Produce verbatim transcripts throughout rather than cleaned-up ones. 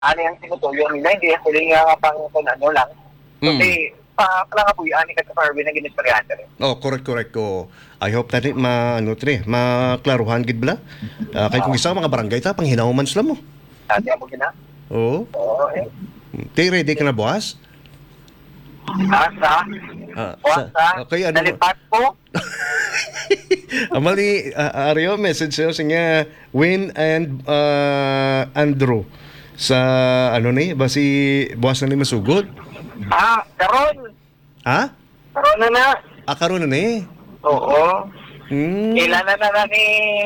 Ano yung tinutuyo nila, hindi ako rin nga pang kung ano lang. Mm. Kasi, pa, pala nga po yung ani ka sa Fairway na ginistoryahan ka rin. Oh, correct, correct. Oh. I hope tani ma ano tre, maklaruhan gid bala. Ah, kay kung isa mga barangay ta panghinawman sila mo. Sabi mo gina? Oo. Oo, eh. Te, ready ka na buwas? Asa? Ah, Buwas sa, sa okay, ano? Nalipat ko. Amali, ah, Ario, message sa'yo, sige, Win and, ah, Andrew. Sa, ano ni, basi, buwas na ni masugod? Ah, karon. Ha? Karon na na. Ah, karon na ni? Oo. Hmm. Ila na na na ni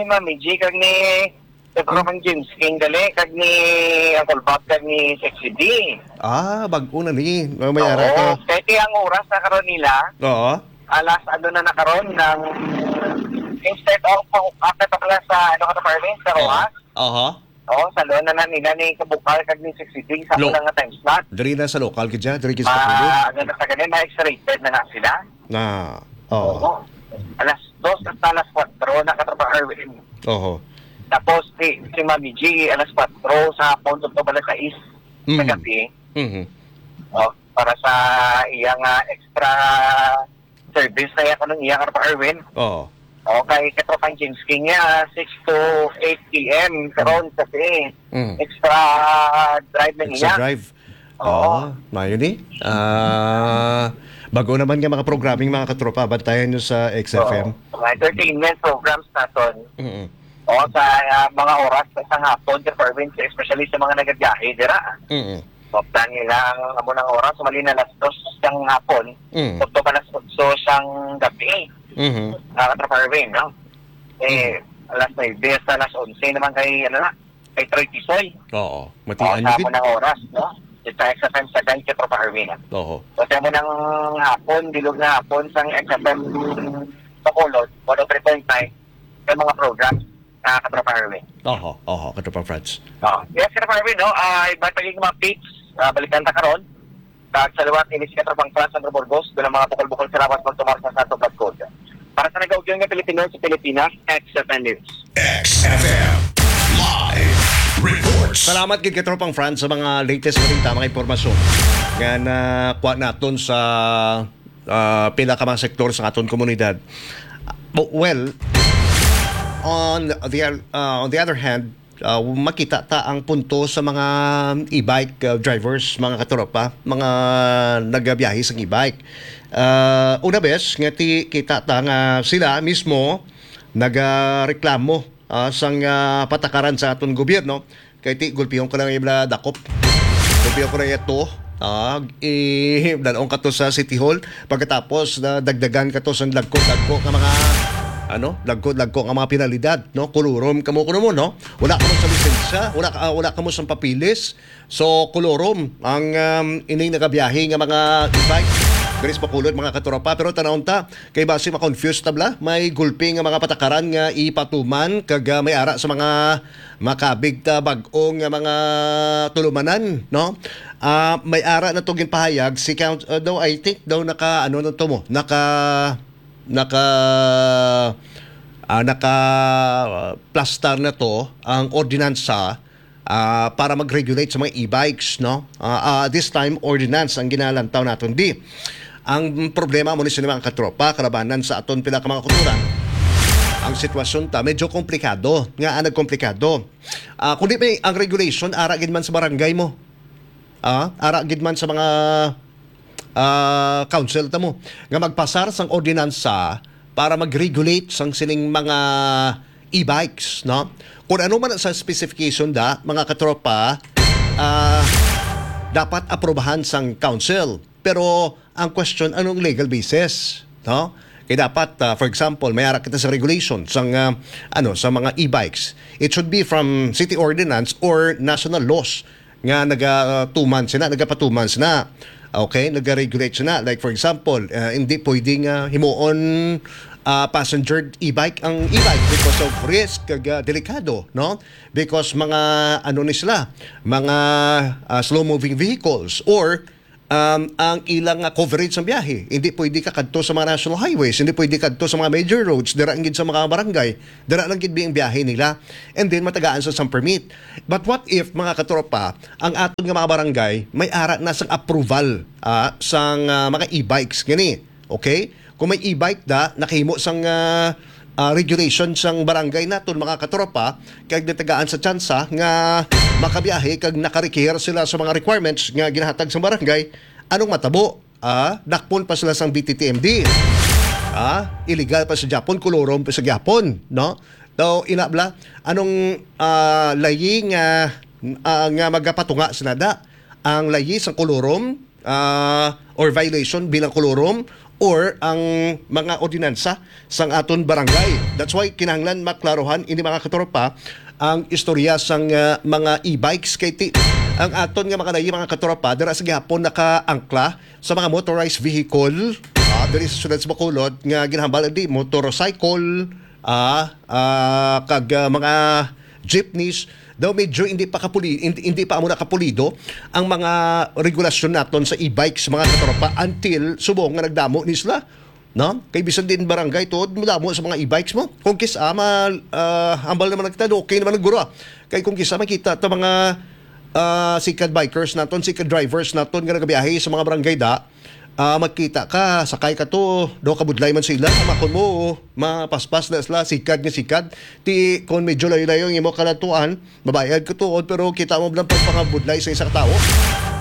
Mami G kag ni Pedro Manjins, King Dali, kag ni Uncle Bob, kag ni Sexy D. Ah, bag-o na ni. May, may ara Oo, ka. Kaya ang oras na karon nila, Oo. alas ano na na karon, ng instead of, oh, after pa pala sa, ano ka na, Carmen, sa Oo. Roa? Aha. Oo, sa Lona na nila ni Kabukal, kag ni Sexy D, sa Lo- una nga time slot. Diri na sa local, gid siya. Diri gid sa Ma, Bacolod. ano na sa ganun, ma-X-rated na na sila. Na, oo. Oo. Alas dos hasta alas kuwatro na, Katropa Erwin. Oho. Tapos, si, si Mami G, alas kuwatro sa hapon, tugtog alas sais sa Mhm. gabi. Mhm. Oh, para sa iyang, ah, extra service na iya, kanang iya, Katropa Erwin. Oo. Okay, Katropang James King niya, six to eight P M, karon kasi Mm. extra drive na Extra niya. drive. Oo. Oo, mayo ni. Ah, bag-o naman nga mga programming, mga katropa, bantayan nyo sa X F M. Oo. Mga entertainment programs naton. Mm-mm. Oo, sa, ah, mga oras sa isang hapon, Sir Perwin, especially sa mga nagabiyahe dira. Mm-mm. Maplan nila ang amo ng oras, mali na alas dos sang hapon. Mm. Tugtog alas otso sang gabi. Mhm. Ah, Katropa Erwin, no? Eh, Mm. alas nuebe hasta alas onse naman kay, ano na, kay Troy Tisoy. Oo. Oo, Matian sa yun, amo ng oras, no? Sa X F M sa Dance, Katropa Erwin, ah. Oo. So, sa amo ng hapon, bilog na hapon, sang X F M Bacolod, one oh three point nine, sa mga programs, ah, Katropa Erwin. Oho, oho, Katropa Franz. Oh, yes, Katropa Erwin, no? Ah, iba pa yung mga updates, ah, balikan ta karon. Kag sa liwat, ini si Katropang Franz Sandro Burgos, bilang mga bukol-bukol salamat magtumar sa Santo Pagkod. Para sa nagaugyon nga Pilipino sa Pilipinas, X F M News. X F M Live Reports. Salamat gid, Katropang Franz, sa mga latest balita, mga impormasyon nga nakuha naton sa, ah, pila ka mga sektor sa aton komunidad. Bu-, well, on the, ah, on the other hand, ah, makita ta ang punto sa mga e-bike, ah, drivers, mga katropa, mga nagabiyahe sa e-bike. Ah, una bes nga ti-, kita ta nga sila mismo nagareklamo, ah, sang, ah, patakaran sa aton gobyerno. Kay ti gulpihon ka lang ila dakop. Gulpihon ko na ito. Ah, i-, dalon ka to sa City Hall. Pagkatapos, na dagdagan ka to sa dagko-dagko nga mga, ano, dagko-dagko nga mga penalidad, no? Kulurom kamo kuno mo, no? Wala kamo sa lisensya, wala ka, ah, wala kamo sa papilis. So, kulurom ang, um, ining nagabiyahe nga mga e-bike diri sa Bacolod, mga katropa. Pero tanawon ta, kay basi ma-confuse ta bala, may gulpi nga mga patakaran nga ipatuman kag, ah, may ara sa mga makabig ta bag-o nga mga tulumanan, no? Ah, may ara na to ginpahayag si Count-, ah, daw, I think daw naka, ano na to mo, naka, naka, ah, naka, ah, plastar na to ang ordinansa, ah, para mag-regulate sa mga e-bikes, no? Ah, ah, this time, ordinance ang ginalantaw naton. Di, ang problema mo ni sini, mga katropa, kalabanan sa aton pila ka mga kultura. Ang sitwasyon ta, medyo komplikado. Nga, ah, nagkomplikado. Ah, kundi may, ang regulation, ara gid man sa barangay mo. Ah, ara gid man sa mga, ah, council ta mo. Nga magpasar sang ordinansa para mag-regulate sang sining mga e-bikes, no? Kung ano man sa specification da, mga katropa, ah, dapat aprobahan sang council. Pero ang question, anong legal basis, no? Kaya dapat, ah, for example, may ara kita sa regulation sang, ah, ano, sa mga e-bikes. It should be from city ordinance or national laws nga nagatuman sina, nagapatuman sina. Okay, nagaregulate sina. Like, for example, ah, hindi pwedeng, ah, himuon, ah, passenger e-bike ang e-bike because of risk kag, ah, delikado, no? Because mga, ano ni sila, mga, ah, slow-moving vehicles or um, ang ilang, ah, coverage sa biyahe. Hindi pwede ka kadto sa mga national highways, hindi pwede kadto sa mga major roads, dira gid sa mga barangay, dira lang gid ang biyahe nila. And then matagaan sa sang permit. But what if, mga katropa, ang aton nga mga barangay may ara na sang approval, ah, sang, ah, mga e-bikes gani? Okay? Kung may e-bike da, nakahimo sang, ah, ah, regulation sang barangay naton, mga katropa, kag natagaan sa tsansa nga makabiyahe kag nakarikihir sila sa mga requirements nga ginahatag sa barangay, anong matabo? Ah, dakpon pa sila sang B T T M D. Ah, illegal pa sa Japon, kolorom pa sa Japon, no? Daw, inabla, anong, ah, layi nga, ah, nga magapatunga sila da? Ang layi sang kolorom, ah, or violation bilang kolorom, or ang mga ordinansa sang aton barangay. That's why kinahanglan maklaruhan ini, mga katropa, ang istorya sang, ah, mga e-bikes, kay ti-, ang aton nga mga layi, mga katropa, dira sa gihapon nakaangkla sa mga motorized vehicle, ah, diri sa siyudad sa Bacolod nga ginahambal di motorcycle, ah, ah, kag, ah, mga jeepneys. Daw medyo hindi pa kapuli-, hindi, hindi pa amo nakapulido ang mga regulasyon naton sa e-bikes, mga katropa, until subong nga nagdamo ni sila, no? Kay bisan din barangay tuod, madamo sa mga e-bikes mo. Kung kis-a, ma-, ah, hambal naman nagtado, okay naman ang guro, ah. Kay kung kis-a makita ta mga, ah, sikad bikers naton, sikad drivers naton nga nagabiyahe sa mga barangay da, ah, magkita ka, sakay ka to, daw kabudlay man sila, makon mo, mapaspas na sila, sikad nga sikad. Ti, kung medyo layo-layo ang imo kalatuan, mabayad ka tuod, pero kita mo lang pagpangabudlay sa isa ka tawo.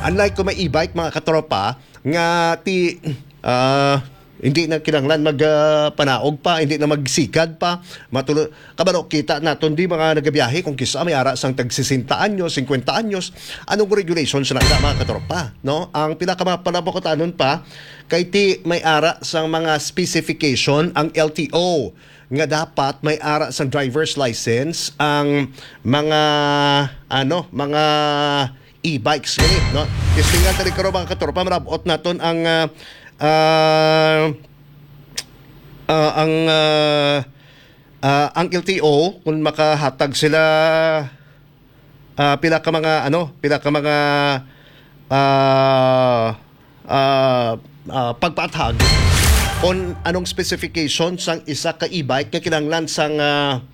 Unlike kung may e-bike, mga katropa, nga ti, ah, hindi na kinahanglan mag, ah, panaog pa, hindi na magsikad pa. Matulo, kabalo, kita naton di mga nagabiyahe kung kisa may ara sang tag sesenta anyos, cincuenta anyos, anong regulation sa nagda, mga katropa, no? Ang pila ka mga panabukutanon pa, kay ti may ara sang mga specification ang L T O nga dapat may ara sang driver's license ang mga, ano, mga e-bikes gani, no? Testingan tani karon, mga katropa, marabot naton ang, ah, ah, ah, ang, ah, ah, ang L T O, kung makahatag sila, ah, pila ka mga, ano, pila ka mga, ah, ah, ah, pagpaathag kung anong specification sang isa ka e-bike nga kinahanglan sang, ah,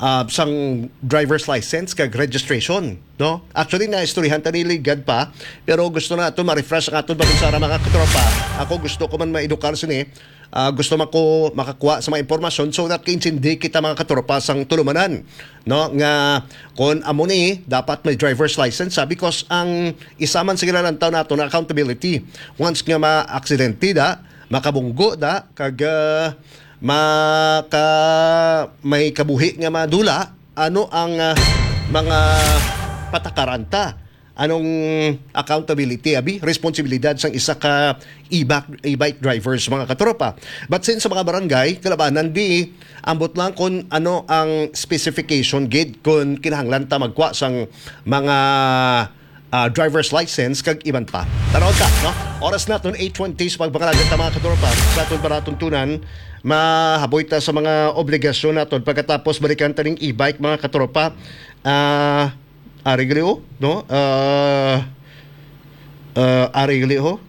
ah, sang driver's license kag registration, no? Actually, naistoryahan ta ni Ligad pa, pero gusto naton ma-refresh ang aton balunsara, mga katropa. Ako, gusto ko man maedukar sini. Ah, gusto man ko makakuha sa mga impormasyon so that kaintindi kita, mga katropa, sang tulumanan, no? Nga kung amo ni, dapat may driver's license, sabi, because ang isa man sa ginalantaw nato na accountability. Once nga ma-aksidente da, makabunggo da, kag, ah, maka-, may kabuhi nga madula, ano ang, ah, mga patakaran ta? Anong accountability, abi? Responsibilidad sang isa ka e-bike, e-bike drivers, mga katropa. But since sa mga barangay, kalabanan di, ambot lang kung ano ang specification gid, kung kinahanglan ta magkuha sang mga, ah, driver's license kag iban pa. Tanaw ta, no? Oras naton eight twenty sa pagpangalaga ta, mga katropa. Sa aton palatuntunan, mahaboy ta sa mga obligasyon naton. Pagkatapos, balikan ta ning e-bike, mga katropa. Ah, ari gali, oh, no? Ah, ah, ari gali, oh.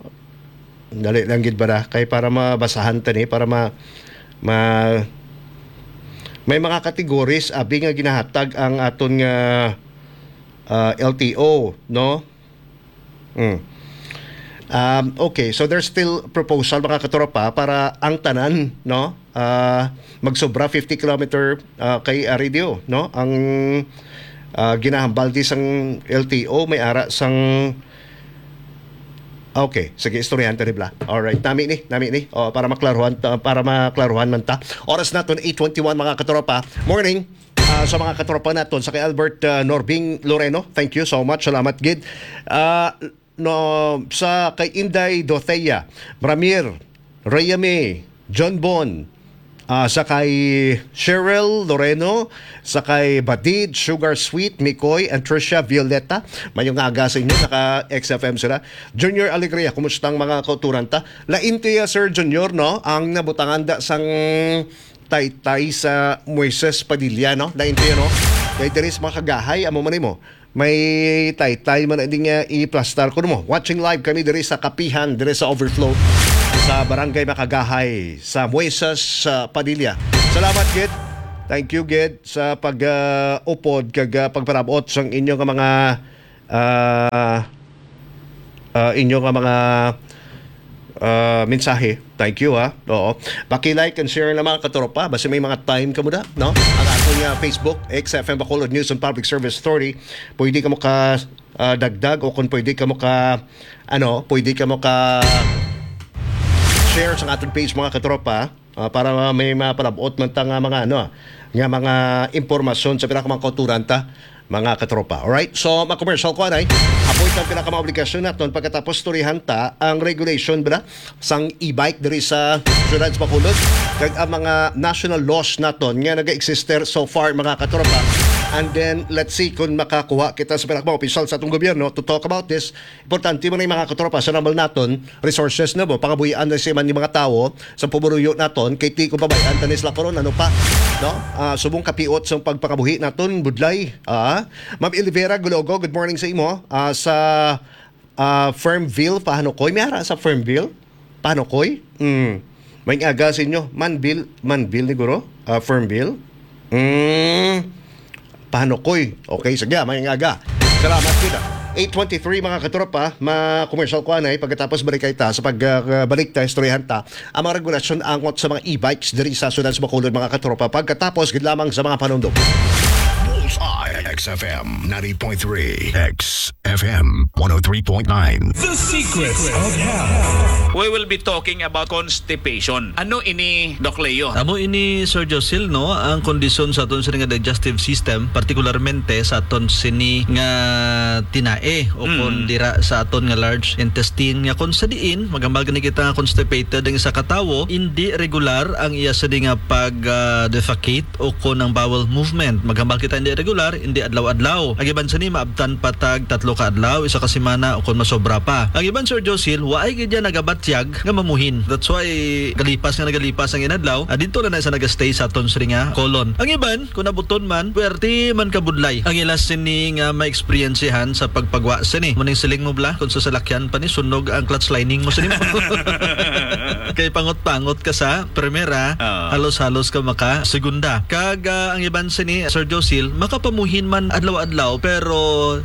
Dali lang gid ba na? Kay para mabasahan ta ni, para ma-, ma-, may mga categories, abi, nga ginahatag ang aton nga, ah, L T O, no? Mm. Um, okay, so there's still proposal, mga katropa, para ang tanan, no? Ah, magsobra fifty kilometer, ah, kay, ah, radio, no? Ang, ah, ginahambal di sang L T O, may ara sang, okay, sige, istoryahan ta ni bala. Alright, nami ni, nami ni. O, para maklaruhan ta, para maklaruhan man ta. Oras naton eight twenty-one, mga katropa. Morning. Ah, sa mga katropa naton, sa kay Albert, ah, Norbing Loreno, thank you so much. Salamat gid. Ah, no, sa kay Inday Dothea, Ramir, Rhea May, John Bon, ah, sa kay Cheryl Loreno, sa kay Badid, Sugar Sweet, Mikoy, and Trisha Violeta. Mayong aga sa inyo, naka X F M sila. Junior Alegria, kumusta ang mga kauturan ta? Lain kaya, Sir Junior, no? Ang nabutangan da sang taytay sa Moises Padilla, no? Lain kaya, no? Kay diri sa mga kagahay, amo man mo. May taytay man na ding, ah, iplastar. Kuno mo, watching live kami diri sa Kapihan, diri sa Overflow, sa Barangay Makagahay, sa Muesas, sa Padilla. Salamat gid. Thank you gid sa pag, ah, upod kag, ah, pagparabot sang inyo nga mga, ah, ah, inyo nga mga, ah, mensahe. Thank you, ha. Oo. Paki-like and share na, mga katropa. Basta may mga time ka mo da, no? Ang ating, ah, Facebook, X F M Bacolod News and Public Service Authority. Pwede ka mo ka, ah, dagdag o kung pwede ka mo ka, ano, pwede ka mo ka share sa ating page, mga katropa. Ah, para may mapalabot man ta nga mga, ano, nga mga impormasyon sa pila ka mga kauturan ta, mga katropa. Alright? So, mga commercial ko, anay, apoy ang pila ka mga obligasyon naton pagkatapos turihan ta ang regulation, bala, sang e-bike diri sa siyudad sa Bacolod, kag ang mga national laws naton nga nag-exister so far, mga katropa. And then, let's see kung makakuha kita sa pila ka mga opisyal sa atong gobyerno to talk about this. Importante man ni, mga katropa, sa normal naton resources, no, ba? Pangabuhian na siya man ni mga tawo sa pumuruyo naton, kay ti ko babayan tanis la karon, ano pa, no? Ah, subong kapiot sa pagpangabuhi naton, budlay. Ah, Ma'am Elvira Gulogo, good morning sa imo. Ah, sa, ah, Fernville, Pahanukoy. May ara sa Fernville? Pahanukoy? Mm. May aga sa inyo. Manville, Manville ni guro? Ah, Fernville? Mm. Pahanukoy. Okay, sige, may aga. Salamat kita. Eight twenty-three, mga katropa, ma-commercial ko anay, pagkatapos balik kay ta sa pag, ah, balik ta, istoryahan ta ang mga regulasyon angot sa mga e-bikes diri sa siyudad sa Bacolod, mga katropa, pagkatapos gid lamang sa mga panundok. Bullseye, X F M ninety point three, X F M one oh three point nine. The Secrets of Health. We will be talking about constipation. Ano ini, Doc Leo? Amo ini, Sir Josil, no, ang kondisyon sa aton sini nga digestive system, partikularmente sa aton sini nga tinae o Mm. kon dira sa aton nga large intestine, nga kon sa diin maghambal gani kita nga constipated ang isa ka tawo, indi regular ang iya sini nga pag, ah, defecate o kon ang bowel movement. Maghambal kita indi regular, indi adlaw-adlaw. Ang iban sini maabtan pa tag tatlo ka adlaw, isa ka semana, o kon masobra pa. Ang iban, Sir Josil, waay gid yan nagabatyag nga mamuhin. That's why galipas nga nagalipas ang inadlaw, ah, dito na na sa nagastay sa aton sini nga colon. Ang iban, kung nabuton man, pwerte man kabudlay. Ang ila sini nga ma-experiencehan sa pagpagwa sini. Muning siling mo bala, kung sa salakyan pa ni, sunog ang clutch lining mo sini mo. Kay pangot-pangot ka sa primera, Oo. halos-halos ka maka segunda. Kag, ah, ang iban sini, Sir Josil, makapamuhin man adlaw-adlaw, pero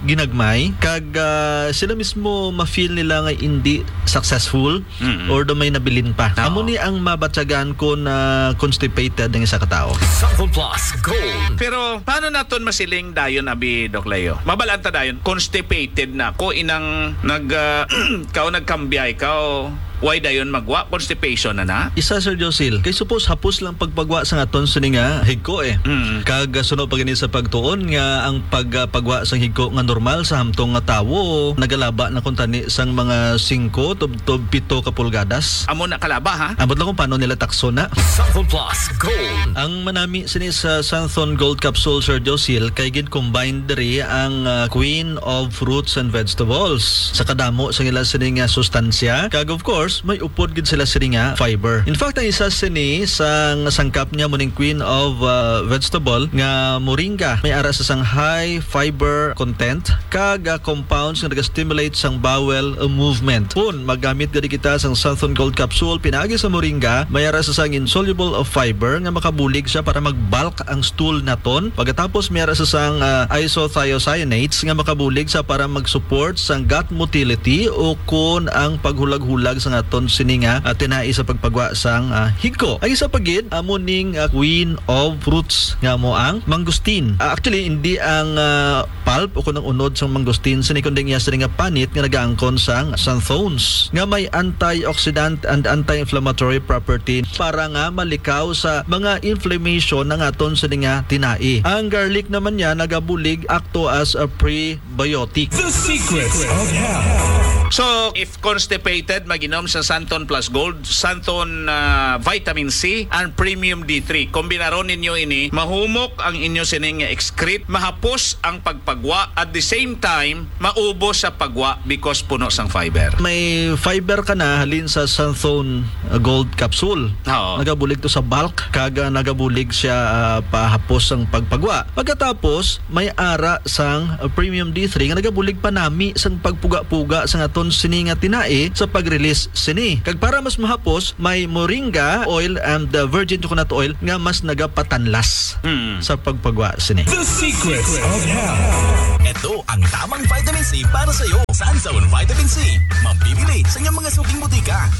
ginagmay. Kag, ah, sila mismo ma-feel nila nga hindi successful Mm-mm. or do may nabilin pa. Oo. Amo ni ang mabatyagan kung, ah, constipated ang isa ka tawo. Sample Plus Gold. Pero paano naton masiling dayon, abi, Doc Leo? Mabalaan ta dayon, constipated na ko, inang nag, ah, kao nagkambiay kao, way dayon magwa, constipation na na? Isa, Sir Josil, kay supos hapos lang pagpagwa sa aton sini nga higko, eh. Mm. Kag, ah, suno pa gani sa pagtuon nga ang pag, ah, pagwa sang higko nga normal sa hamtong nga tawo nagalaba na kuntani sang mga singko tubtob pito ka pulgadas. Amo na kalaba, ha? Ambot lang kung paano nila takso na. Sample Plus Gold. Ang manami sini sa Santhon Gold Capsule, Sir Josil, kay gin-combine diri ang, ah, Queen of Fruits and Vegetables. Sa kadamo sa ila sini nga sustansya, kag of course, may upod gid sila sini nga fiber. In fact, ang isa sini sa sangkap niya muning Queen of, ah, Vegetable nga moringa. May ara sa sang high fiber content kag, ah, compounds nga naga-stimulate sang bowel, ah, movement. Kun magamit gani kita sang Santhon Gold Capsule pinaagi sa moringa, may ara sa sang insoluble of fiber nga makabulig siya para mag-bulk ang stool naton. Pagkatapos, may ara sa sang, ah, isothiocyanates nga makabulig sa para mag-support sang gut motility o kun ang paghulag-hulag sa aton sini nga, ah, tinai sa pagpagwa sang, ah, higko. Ang isa pa gid, amo ning, ah, Queen of Fruits nga amo ang mangosteen. Ah, actually, hindi ang, ah, pulp o kun ang unod sang mangosteen sini, kundi ang iya sini nga panit nga nagaangkon sang xanthones nga may antioxidant and anti-inflammatory property para nga malikaw sa mga inflammation ang aton sini nga tinai. Ang garlic naman niya nagabulig akto as a prebiotic. The Secrets of Health. So, if constipated, mag-inom sa Santon Plus Gold, Santon, ah, Vitamin C, and Premium D three. Kombinaron ninyo ini, mahumok ang inyo sining excrete, mahapos ang pagpagwa, at the same time, maubos sa pagwa because puno sang fiber. May fiber ka na halin sa Santon, uh, Gold Capsule. Oo. Nagabulig to sa bulk, kag, uh, nagabulig siya, uh, pahapos sang pagpagwa. Pagkatapos, may ara sang, uh, Premium D three nga nagabulig panami sang pagpuga-puga sang aton sini nga tinai sa pag-release sini. Kag para mas mahapos, may moringa oil and, uh, virgin coconut oil nga mas nagapatanlas Hmm. sa pagpagwa sini. The Secrets of Health. Ito ang tamang vitamin C para sa iyo. Sanzone Vitamin C. Mabibili sa inyong mga suking butika.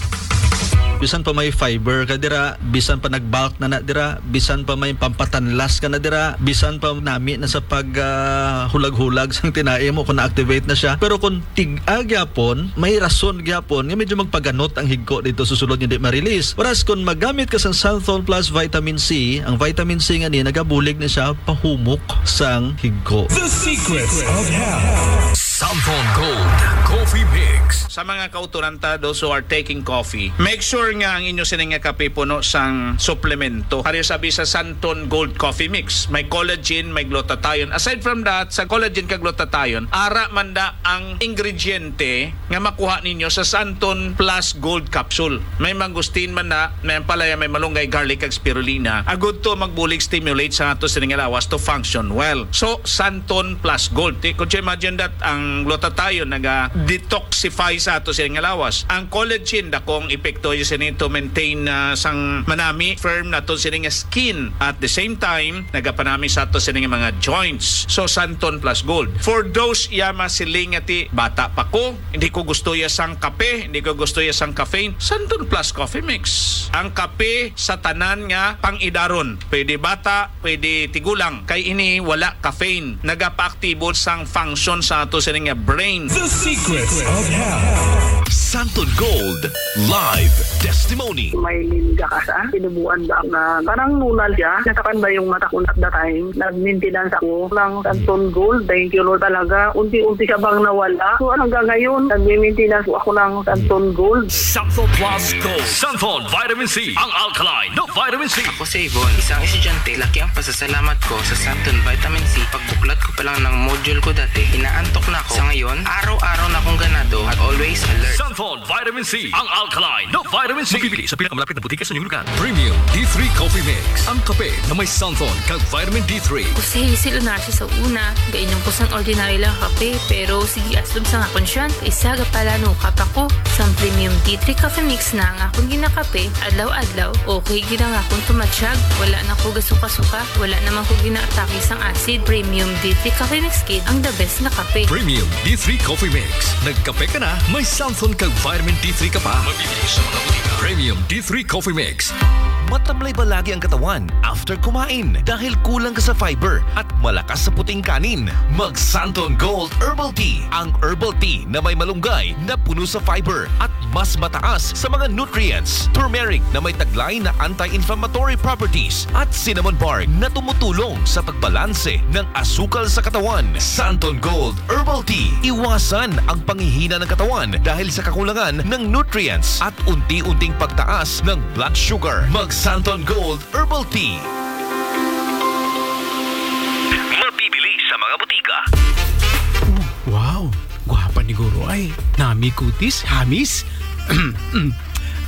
Bisan pa may fiber ka dira, bisan pa nag-bulk na na dira, bisan pa may pampatanlas ka na dira, bisan pa nami na sa pag, ah, hulag-hulag sang tinai mo kung na-activate na siya. Pero kung tig-a gyapon, may rason gyapon nga medyo magpaganot ang higko dito sa sulod nga di ma-release. Whereas kung magamit ka sa Santhol Plus Vitamin C, ang vitamin C nga ni nagabulig na siya pahumok sang higko. The Secrets of Health. Santhol Gold Coffee Mix. Sa mga kauturan ta, those who are taking coffee, make sure nga ang inyo sini nga kape puno sang suplemento. Pareho sabi sa Santon Gold Coffee Mix, may collagen, may glutathione. Aside from that, sa collagen kag glutathione, ara man da ang ingrediente nga makuha ninyo sa Santon Plus Gold Capsule. May mangosteen man na, may ampalaya, may malunggay, garlic, kag spirulina. Agud to magbulig, stimulate sa ato sini nga lawas to function well. So, Santon Plus Gold. Ti-, could you imagine that? Ang glutathione naga-detoxify sa ato sini nga lawas. Ang collagen, dakong epekto yun sini to maintain, ah, sang manami, firm nato sini nga skin. At the same time, nagapanami sa ato sini nga mga joints. So, Santon Plus Gold. For those iya masiling nga ti, "Bata pa ko, hindi ko gusto ya sang kape, hindi ko gusto ya sang caffeine," Santon Plus Coffee Mix. Ang kape sa tanan nga pang-idaron. Pwede bata, pwede tigulang. Kay ini wala caffeine. Nagapaaktibo sang function sa ato sini nga brain. The Secrets of Health. Santon Gold Live Testimony. May lingga ka sa tinubuan ba nga parang nunal siya? Natakan ba yung mata ko at the time? Nag-maintenance ako ng Santon Gold. Thank you, Lord, talaga. Unti-unti siya bang nawala. So, hanggang ngayon, nag-maintenance po ako ng Santon Gold. Santon Plus Gold. Santon Vitamin C, ang alkaline na vitamin C. Ako si Yvonne, isang estudyante. Laki ang pasasalamat ko sa Santon Vitamin C. Pagbuklat ko pa lang ng module ko dati, inaantok na ako. Sa ngayon, araw-araw na akong ganado at always alert. Santon Vitamin C, ang alkaline na vitamin C. Mabibili sa pinakamalapit na butika sa inyong lugar. Premium D three Coffee Mix, ang kape na may santon kag vitamin D three. Ako si Hazel Onacio sa una, gainom ko sang ordinary lang kape, pero sige, aslom sa nga konsyan, isa ga pala nukap ako. Sang Premium D three Coffee Mix na ang akon ginakape, adlaw-adlaw, okay gid ang akon tumatsyag, wala na ko gasuka-suka, wala naman ko ginaatake sang acid. Premium D three Coffee Mix gid ang the best nga kape. Premium D three Coffee Mix. Nagkape ka na, may santon kag vitamin D three ka pa. Mabibili sa mga butika. Premium D three Coffee Mix. Matamlay ba lagi ang katawan after kumain dahil kulang ka sa fiber at malakas sa puting kanin? Mag Santon Gold Herbal Tea, ang herbal tea na may malunggay na puno sa fiber at mas mataas sa mga nutrients. Turmeric na may taglay na anti-inflammatory properties at cinnamon bark na tumutulong sa pagbalanse ng asukal sa katawan. Santon Gold Herbal Tea. Iwasan ang panghihina ng katawan dahil sa kakulangan ng nutrients at unti-unting pagtaas ng blood sugar. Mag Santon Gold Herbal Tea. Mabibili sa mga butika. Wow, gwapa ni Guro ay. Nami kutis, hamis.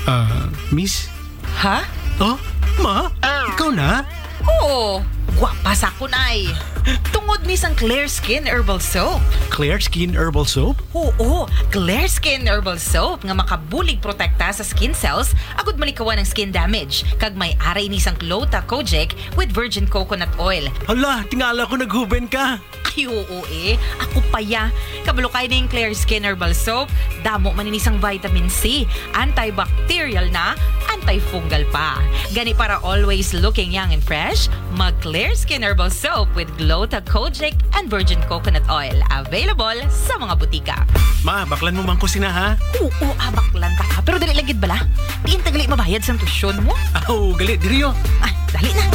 Ah, miss? Ha? Oh, ma? Ikaw na? Oo, gwapa sa akon ay. Tungod ni sang Clear Skin Herbal Soap. Clear Skin Herbal Soap? Oo, Clear Skin Herbal Soap nga makabulig protekta sa skin cells agud malikawan ang skin damage. Kag may ara ini sang Gluta Kojic with virgin coconut oil. Hala, tingala ko naghuben ka. Ay, oo eh. Ako pa ya. Kabalo kay ning Clear Skin Herbal Soap. Damo man ini sang vitamin C. Antibacterial na, antifungal pa. Gani para always looking young and fresh, mag Clear Skin Herbal Soap with Gluta Kojic and Virgin Coconut Oil. Available sa mga butika. Ma, baklan mo man ko sina, ha? Oo, ah, baklan ta ka. Pero dali lang gid bala. Diin ta gali mabayad sa tuition mo? Aw, gali, diri, oh. Ah, dali na.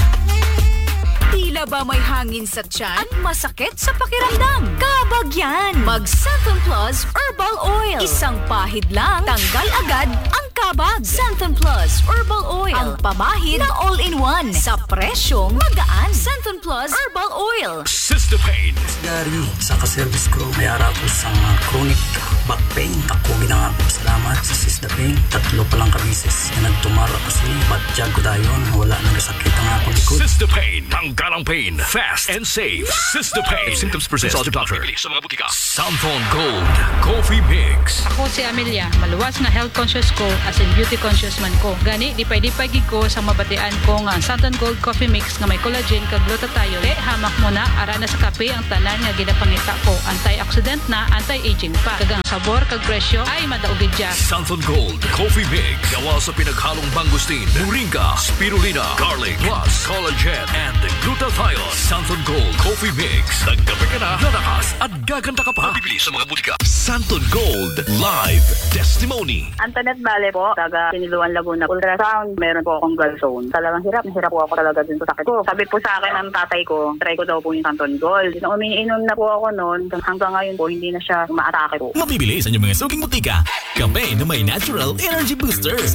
Tila Ba may hangin sa tiyan at masakit sa pakiramdam? Kabag yan! Mag Santon Plus Herbal Oil. Isang pahid lang, tanggal agad ang kabag. Santon Plus Herbal Oil. Ang pamahid na all-in-one sa presyong magaan. Santon Plus Herbal Oil. Sister Pain. Gary, sa ka-service ko, may ara ko sa mga chronic back pain. Ako ginangako salamat sa Sisda Pain. Tatlo pa lang ka beses na nagtumar ako sini. Batyag ko dayon, wala nagasakit ang akong likod. Sister Pain. Tanggal ang pain. Fast and safe. Sister Pain. If symptoms persist, consult your doctor. Bibili sa mga butika. Santon Gold Coffee Mix. Ako si Amelia, maluwas nga health conscious ko as in beauty conscious man ko. Gani, lipay-lipay gid ko sa mabatian ko nga ang Santon Gold Coffee Mix nga may collagen kag glutathione. Kay hamak mo na, ara na sa kape ang tanan nga ginapangita ko. Antioxidant na, anti-aging pa. Kag ang sabor kag presyo ay madaog gid siya. Santon Gold Coffee Mix. Gawa sa pinaghalong mangosteen, moringa, spirulina, garlic, plus collagen and glutathione. Santon Gold Coffee Mix. Nagkape ka na, lalakas at gaganda ka pa. Mabibili sa mga butika. Santon Gold Live Testimony. Antoinette Bale po, taga Siniluan, Laguna. Ultrasound, meron po akong gallstone. Talagang hirap na hirap po ako talaga dun sa sakit ko. Sabi po sa akin ng tatay ko, try ko daw po yung Santon Gold. Nung umiinom na po ako noon, hanggang ngayon po, hindi na siya umaatake po. Mabibili sa inyong mga suking butika. Kape na may natural energy boosters.